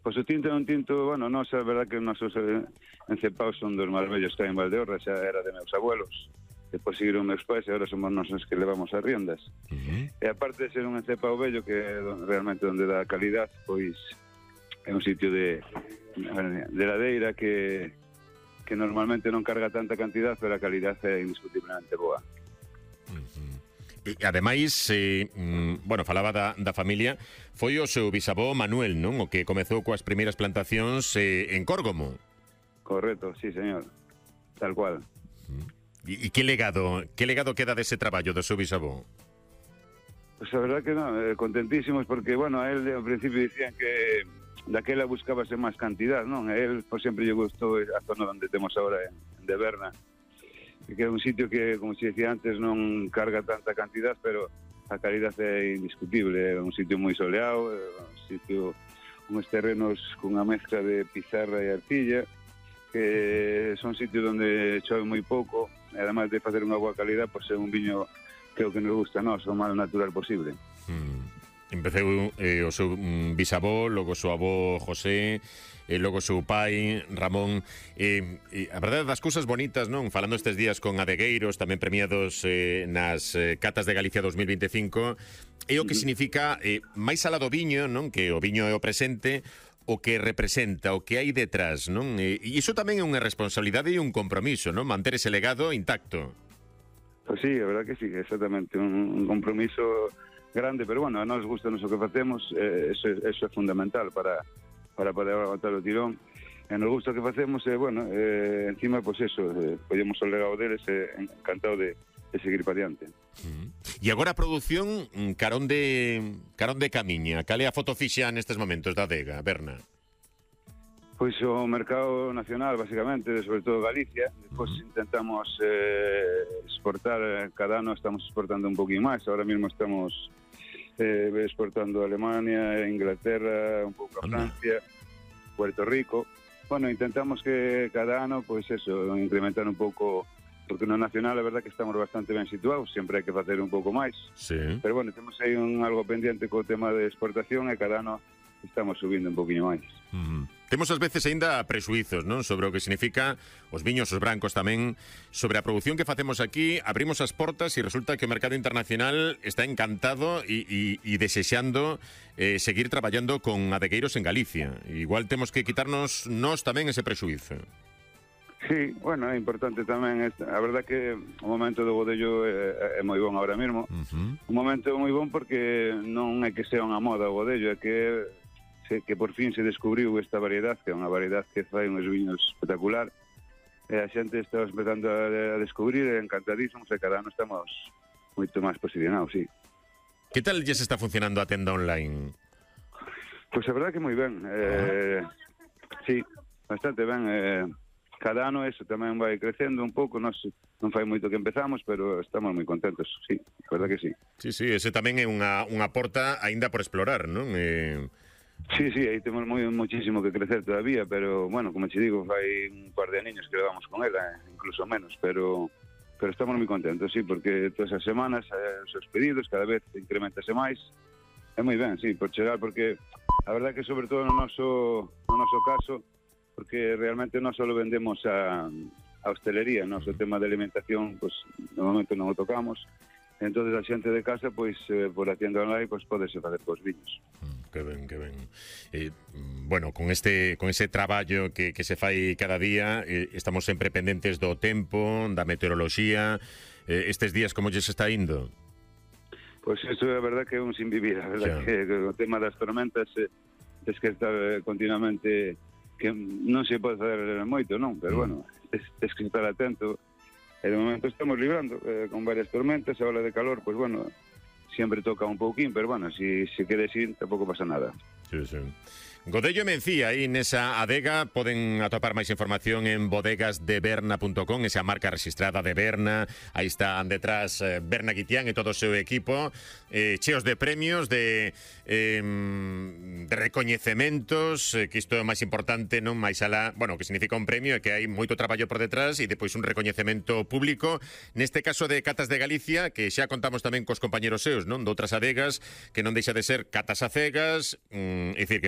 Pois o tinto é un tinto, bueno, non é verdad que os nosos encepados son dos máis vellos que hai en Valdeorras, xa era de meus abuelos, depois seguiron meus pais e agora somos nós os que levamos as riendas. E aparte de ser un encepado vello que é realmente onde dá calidad, pois é un sitio de ladeira que normalmente non carga tanta cantidad, pero a calidad é indiscutiblemente boa. E ademais, bueno, falaba da familia, foi o seu bisavó Manuel, non? O que comezou coas primeiras plantacións en Córgomo. Correcto, sí, señor. Tal cual. E que legado queda dese traballo do seu bisavó? Pues a verdad que non, contentísimos porque, bueno, a él ao principio dicían que daquela buscábase máis cantidad, non? A él por sempre lle gustou a zona onde temos agora en de Berna, que é un sitio que, como se decía antes, non carga tanta cantidad, pero a calidad é indiscutible. É un sitio moi soleado, un sitio con uns terrenos cunha mezcla de pizarra e arcilla, que son sitios onde chove moi pouco, e además de facer unha boa calidad, pois é un viño que é o que nos gusta a nós, o máis natural posible. Empeceu o seu bisavó, logo o seu avó José, e logo o seu pai Ramón. A verdade das cousas bonitas, non? Falando estes días con adegueiros tamén premiados nas Catas de Galicia 2025, é o que significa máis alá do viño, non? Que o viño é o presente, o que representa, o que hai detrás, non? E iso tamén é unha responsabilidade e un compromiso, non? Manter ese legado intacto. Pois sí, a verdad que sí, exactamente, un compromiso grande, pero bueno, a nós gusta o que facemos, eso é fundamental para poder aguantar o tirón. E nos gusta o que facemos, bueno, encima, pois eso, podemos o legado deles, encantado de seguir para diante. E agora a produción carón de camiña, cal é a foto fixa nestes momentos da adega, Berna? Pois o mercado nacional, basicamente, sobre todo Galicia. Despois intentamos exportar, cada ano estamos exportando un poquinho máis. Ahora mesmo estamos exportando a Alemania, Inglaterra, un pouco a Francia, Puerto Rico. Bueno, intentamos que cada ano, pois eso, incrementar un pouco, porque no nacional a verdad que estamos bastante ben situados, sempre hai que facer un pouco máis. Sí. Pero bueno, temos aí algo pendiente co tema de exportación e cada ano estamos subindo un poquinho máis. Temos ás veces aínda presuizos, non? Sobre o que significa os viños, os brancos tamén, sobre a produción que facemos aquí. Abrimos as portas e resulta que o mercado internacional está encantado e desexando seguir traballando con adegueiros en Galicia. Igual temos que quitarnos nós tamén ese presuizo. Sí, bueno, é importante tamén. A verdad que o momento do bodello é moi bon ahora mesmo. Un momento moi bon porque non é que sea unha moda o bodello, é que por fin se descubriu esta variedade, que é unha variedade que fai uns viños espectacular, e a xente está empezando a descubrir, encantadísimos, e cada ano estamos moito máis posicionados, sí. Que tal lles está funcionando a tenda online? Pois a verdade que moi ben, sí, bastante ben, cada ano eso tamén vai crecendo un pouco, non fai moito que empezamos, pero estamos moi contentos, sí, a verdade que sí. Sí, ese tamén é unha porta aínda por explorar, non? Sí, aí temos muchísimo que crecer todavía, pero, bueno, como te digo, hai un par de aniños que levamos con ela, incluso menos, pero estamos moi contentos, sí, porque todas as semanas os seus pedidos cada vez incrementase máis. É moi ben, sí, por chegar, porque a verdade que sobre todo no noso caso, porque realmente non só vendemos a hostelería, o tema de alimentación, pues, no momento non o tocamos, entonces a xente de casa, pois, por a tienda online, pois, podese facer cos viños. Que ben. Bueno, con ese traballo que se fai cada día, estamos sempre pendentes do tempo, da meteoroloxía. Estes días como lles está indo? Pois iso é a verdad que é un sin vivir, a verdad que o tema das tormentas es que está continuamente, que non se pode fazer moito, non? Pero bueno, es que estar atento. E de momento estamos librando con varias tormentas, a ola de calor, pois bueno, sempre toca un pouquín, pero bueno, si queres ir, tampouco pasa nada. Sí. Godello e Mencía, aí nesa adega poden atopar máis información en bodegasdeberna.com, esa marca registrada de Berna. Aí están detrás Berna Guitián e todo o seu equipo, cheos de premios, de recoñecementos, que isto é o máis importante, non máis alá, bueno, que significa un premio, é que hai moito traballo por detrás e depois un recoñecemento público, neste caso de Catas de Galicia, que xa contamos tamén cos compañeros seus, non, de outras adegas, que non deixa de ser catas a cegas, é dicir, que